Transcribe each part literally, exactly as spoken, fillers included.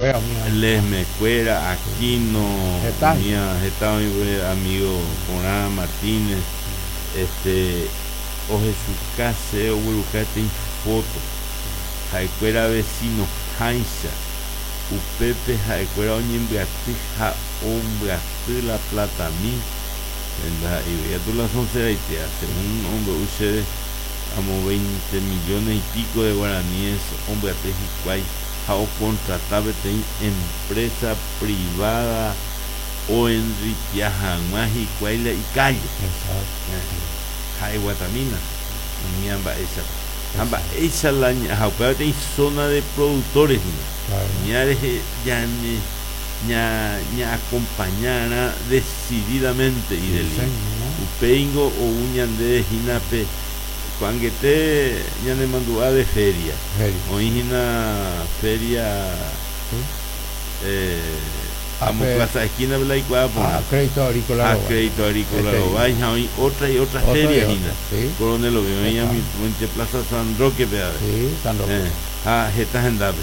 Kuéra umi. Lesme kuéra, Aquino, Heta. Umía, heta oĩ amigo porã Martínez, este ohechuka che ogueruka peteĩ foto ha'ekuéra vecino háicha upépe ha'ekuéra oñembyaty ha ombyaty la platami ndaha'éi la sonseraitea según ombe'u chéve amo veinte millones y pico de guaraníes ombyaty hikuái ha ocontrata peteĩ empresa privada oenriquea hag̃ua hikuái la icalle. Exacto. Ha'e guatamína umía mba'éichapa ha mba'éicha la ha upéva peteĩ zona de productores hína. Claro. Ña rehe ñane ña ñaacompañarã decididamente Sí, Ideli. Señor. Upéingo ou ñande hína pe ko'ag̃aite ñanemandu'a de feria. Feria. Oĩ hína feria Sí. eh, amo Ape- Plaza Esquina la ikuaa porã. Ah, Crédito Agrícola A Rovái. Crédito Agrícola Este, Rovái ha oĩ otra y otra Otra y feria otra, hína. sí. Coronel Oviedo oĩ Está. ami Plaza San Roque pe ave. Sí, San Roque. Eh, ha heta hendápe.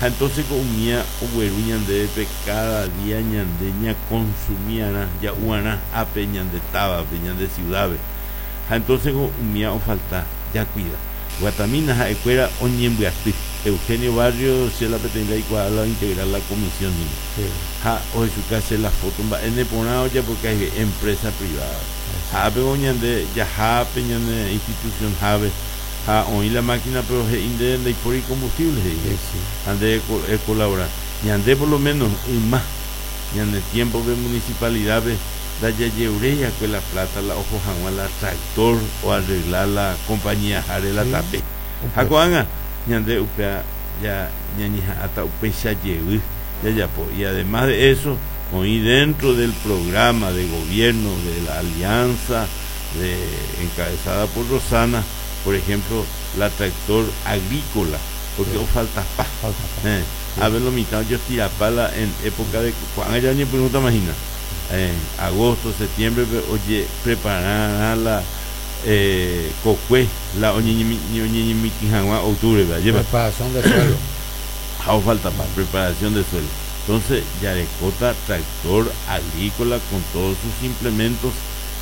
Ha entonces ko umía ogueru ñandéve cada día ñande ñaconsumiarã ja'uarã ápe ñande távape ñande ciudad-pe. Ha entonces ko umía ofalta jakuida. Guatamína ha'ekuéra oñembyaty. Eugenio Barrio che la peteĩ ndaikuaa la integrar la comisión hína. Sí. Ha ohechuka che la foto mba'e neporã ojapoka empresa privada. Ha ápe ñande jahápe ñane institución hápe ha oĩ la máquina pero he'i nde ndaipóri combustible he'i. Sí, sí. Ha nde colaborar. Ñande por lo menos yma ñane tiempo de municipalidad ndajajeruréi la plata la oho hag̃ua la tractor o arreglar la compañía jare la Sí. tape. Ha ko'ág̃a ñande upéa ya ñañeha'ãta upéicha jey jajapo y además de eso oĩ dentro del programa de gobierno de la alianza de, encabezada por Rosana, por ejemplo, la tractor agrícola, porque Sí. falta pa. Falta pa. Eh, a ver lo mitad yo tirapala en época de cuando ya ni pregunta imagina eh, agosto, septiembre, pe- oye, preparar la eh, kokue, la oñeñemitĩ hag̃ua octubre, ¿verdad? Lleva. Preparación de suelo. Ha falta para preparación de suelo. Entonces, jarekóta tractor agrícola con todos sus implementos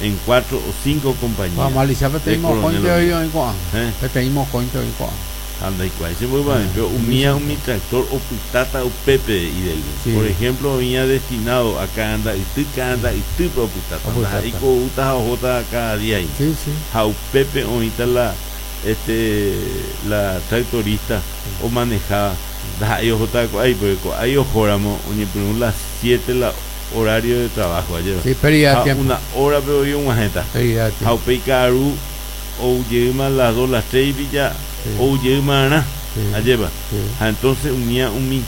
en cuatro o cinco compañías. Vamos a analizar peteĩ De mokõinte Coronel oĩ Oviedo. oĩ ko'ág̃a. Eh. Peteĩ mokõinte oĩ ko'ág̃a. Ha ndaikuaái che mboyva, pero umía umi tractor opytáta upépe Ideli. Sí. Por ejemplo, oĩa destinado a Ka'anda'yty, Ka'anda'ytýpe opytáta. Opytáta. Ndaha'éi oúta ha ohóta cada día ahí. Sí, sí. Ha upépe oĩta la este la tractorista o manejaba ndaha'éi ohóta ko'ái porque ko'ái ohóramo oñepyrũ las siete la horario de trabajo ayer. Sí, pérdida de Ha tiempo. una hora pe oĩ og̃uahẽta. Pérdida de Ha tiempo. upéi ka'aru oujeýma las dos, las tres y ya Sí. oujeýmarã Sí. ajépa. Sí. Ha entonces umía umi eh,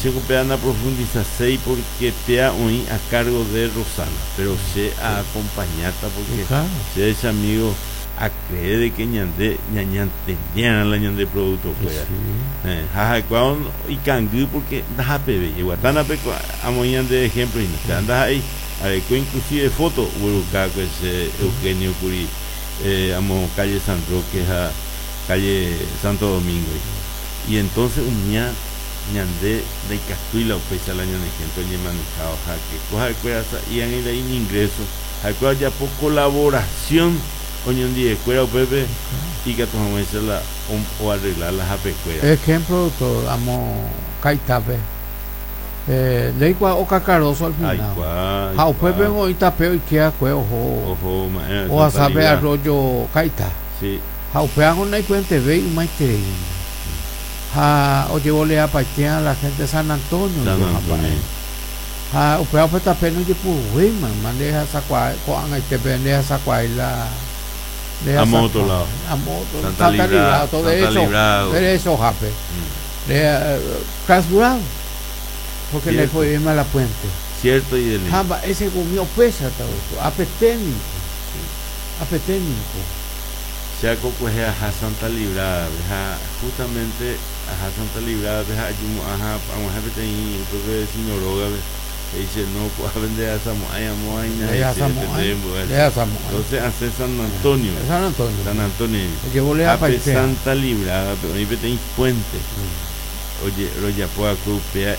che péa naprofundizaséi porque péa oĩ a cargo de Rosana, pero che acompañáta porque Sí, claro. che ese amigo a creer de que ñande ñañantendiera la ñande producto Sí, kuéra. sí. Eh, ha ha'ekuaa ikangy porque ndahapeve jeguatánape amoĩ ñande ejemplo hína. O sea, ndaha'éi areko inclusive foto ogueruka che Eugenio kuri eh, amo calle San Roque ha calle Santo Domingo. Y entonces umía ñande ndaikatúi la upéicha la ñane gente oñemanejado ha que ko ha'ekuéra sa'ian la ingreso ha'ekuéra ojapo colaboración oñondivekuéra upépe ikatu hag̃uáicha la o, o arreglar la hapekuéra. Ejemplo, doctor, amo Kaitápe. Eh, ndeikuaa okacaroso al final. Aikuaa, Ha upépe aikuaa. oĩ tape oikeakue oho Oho ma'ẽ Santa ohasápe Librada. arroyo Kaita. Sí. Ha upéva naipuentevéi ymaiterei. Ha ojevoleapaitéa la gente de San Antonio. San ha Antonio. mba'e. Ha upéva upe tape ndojepuruvéima ndehasakuaa ko'ag̃aitépe ndehasakuaái la Amo otro lado. Amo otro Santa Santa Librada, Librado, Santa derecho, Librado. derecho jape. Mm. De, eh, clausurado. Porque le Cierto. fue bien a la puente. Cierto y del Ha mba'e umi opéicha apeténiko. Apeténiko. Che akokuehe aha Santa Librada ha justamente aha Santa Librada ha ajumo'ã ag̃uahẽ peteĩ upépe vecino rógape he'i che no ko'ápe ndehasamo'ãi amo aína Ndehasamo'ãi. Ndehasamo'ãi. Entonces asẽ San Antonio. San Antonio. San Antonio. Ojevoleapaitéa. Ápe Santa Librada oĩ peteĩ puente. Oje rojapo akue upéa.